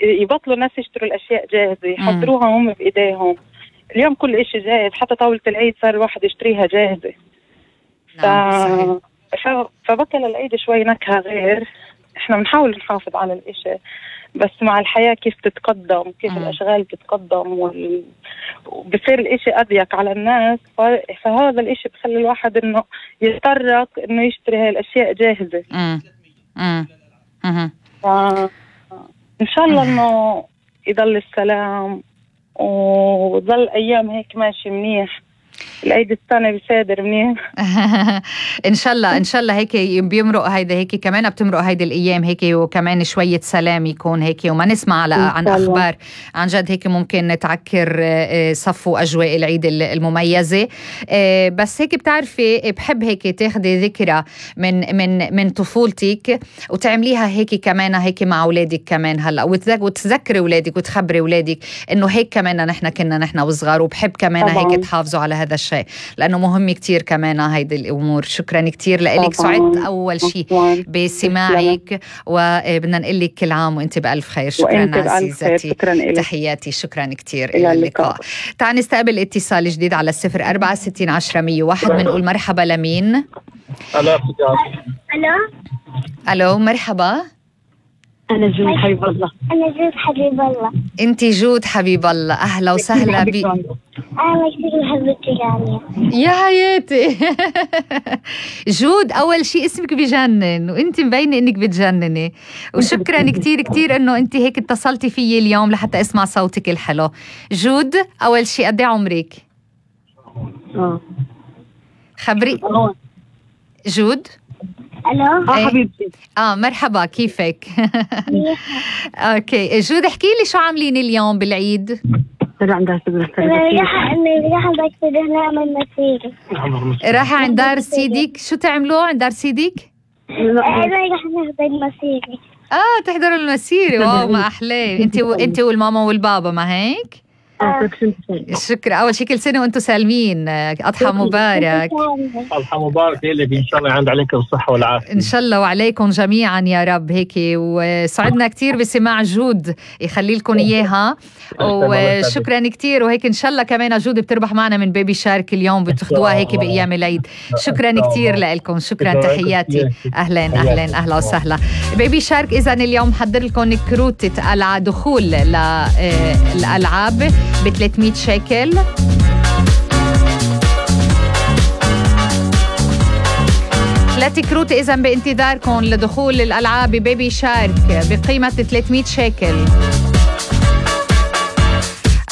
يبطلوا الناس يشتروا الأشياء جاهزة، يحضروها هم بإيديهم. اليوم كل إشي جاهز، حتى طاولة العيد صار الواحد يشتريها جاهزة. فبطل العيد شوي نكهة غير. احنا بنحاول نحافظ على الإشي، بس مع الحياة كيف تتقدم، كيف الأشغال تتقدم وبصير الإشي أضيق على الناس، فهذا الإشي بخلي الواحد إنه يتطرق إنه يشتري هاي الأشياء جاهزة. إن شاء الله إنه يضل السلام وظل أيام هيك ماشي منيح، العيد السنة بيصادر منيح. إن شاء الله إن شاء الله هيك بيمرق هيدا، هيك كمان بتمرق هيدي الأيام هيك، وكمان شوية سلام يكون هيك، وما نسمع عن أخبار عن جد هيك ممكن تعكر صفو أجواء العيد المميزة. بس هيك بتعرفي بحب هيك تاخدي ذكرى من طفولتك وتعمليها هيك كمان هيك مع أولادك كمان هلا، وتذكري أولادك وتخبري أولادك إنه هيك كمان نحن كنا نحن وصغار، وبحب كمان هيك تحافظوا على هذا الشيء لأنه مهم كتير كمان هيدي الأمور. شكرا كتير لك، سعدت أول شيء بسماعك، وبدنا نقول لك كل عام وأنت بألف خير. شكرا عزيزتي، تحياتي، شكرا كتير إلى اللقاء. تعال نستقبل اتصال جديد على 0460100101. بنقول مرحبا لمين؟ ألو مرحبا. أنا جود حبيب الله. أنا جود حبيب الله. أنت جود حبيب الله، أهلا وسهلا بي. أنا كثير بحبك يعني. يا حياتي. جود أول شيء اسمك بجنن، وأنت مبينة إنك بتجنني، وشكرا كتير كتير إنه أنت هيك اتصلتي فيي اليوم لحتى أسمع صوتك الحلو. جود أول شيء قد إيه عمرك؟ خبري جود. ألو حبيبتي. مرحبا، كيفك؟ اوكي جود، احكي لي شو عاملين اليوم بالعيد؟ راح عند دار سيدك. شو تعملوا عند دار سيدك؟ راح نحضر المسيرة. تحضروا المسيرة. واو ما أحلاه. انت والماما والبابا ما هيك؟ شكرا. أول شيء كل سنة وأنتم سالمين، أضحى مبارك. أضحى مبارك لك إن شاء الله، عند عليكم الصحة والعافية إن شاء الله وعليكم جميعا يا رب. هيك وسعدنا كتير بسماع جود، يخلي لكم إياها، وشكرا كتير. وهيك إن شاء الله كمان جود بتربح معنا من بيبي شارك اليوم، بتاخدوها هيك بأيام العيد. شكرا كتير لكم، شكرا، تحياتي. أهلا وسهلا بيبي شارك. إذن اليوم حضر لكم كروتة دخول للألعاب ب300 شيكل. ثلاث كروت إذن بانتظاركم لدخول الألعاب بيبي شارك بقيمة 300 شيكل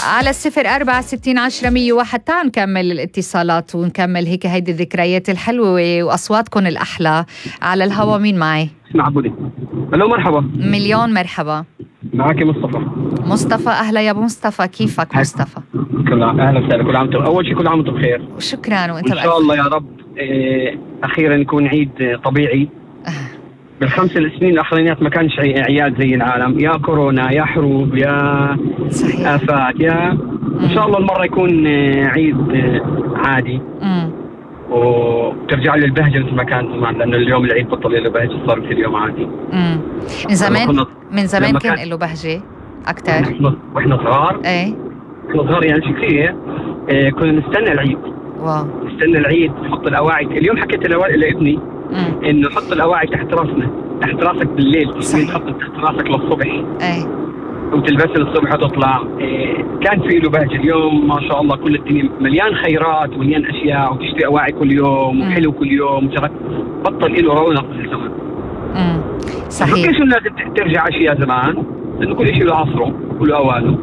على 0460100101. تعال نكمل الاتصالات ونكمل هيك هيدي الذكريات الحلوة وأصواتكم الأحلى على الهوا. مين معي؟ معبودي. ألو مرحبا. مليون مرحبا. معك مصطفى. أهلا يا أبو مصطفى، كيفك مصطفى؟ أهلا وسهلا. كل عام أول شيء كل عام وأنتم بخير. شكرا وأنت إن شاء الله يا رب. أخيرا يكون عيد طبيعي. بالخمس السنين الأخرانيات ما كانش عياد زي العالم، يا كورونا يا حروب يا صحيح. آفات يا إن شاء الله المرة يكون عيد عادي وترجع له البهجة مثل ما كان زمان، لأنه اليوم العيد بطل له بهجة، صار مثل اليوم عادي. من زمان كان له بهجة أكتر. وإحنا صغار كنا صغار يعني شكلية كنا نستنى العيد. واو. نستنى العيد، نحط الأواعي. اليوم حكيت لابني إنه حط الأواعي تحت راسنا، تحت راسك بالليل، تحط تحت راسك للصبح. وتلبسها للصبح وتطلع. كان في له بهجة. اليوم ما شاء الله كل الدنيا مليان خيرات ومليان أشياء، وتشتري أواعي كل يوم وحلو كل يوم، بطل له رونق مثل زمان. صحيح. ليش الناس ترجع أشياء زمان؟ لأنه كل شيء له عصره وله أوانه.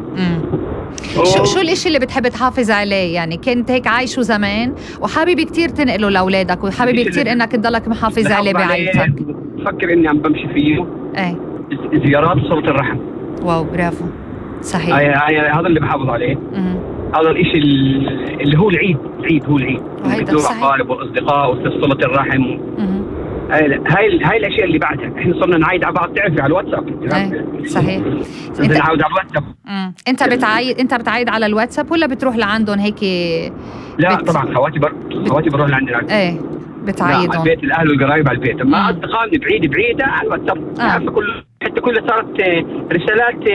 شو الاشي اللي بتحب تحافظ عليه؟ يعني كنت هيك عايشه زمان وحابب كتير تنقله لأولادك، وحابب كتير انك تضلك محافظ عليه بعائلتك. بفكر اني عم بمشي فيه زيارات صلة الرحم. واو برافو. صحيح. هذا اللي بحافظ عليه. هذا الاشي اللي هو العيد هو العيد. تزور الأقارب والأصدقاء وصلة الرحم. هاي الاشياء اللي بعدها احنا صرنا نعايد على بعض، تعرفي على الواتساب. صحيح. انت نعاود على الواتساب. انت بتعايد على الواتساب ولا بتروح لعندهم هيك؟ لا طبعا خواتي بروح لعندنا. بتعايدهم على البيت، الاهل والقرايب على البيت. اما اصدقائي بعيده على الواتساب. حتى كل صارت رسالات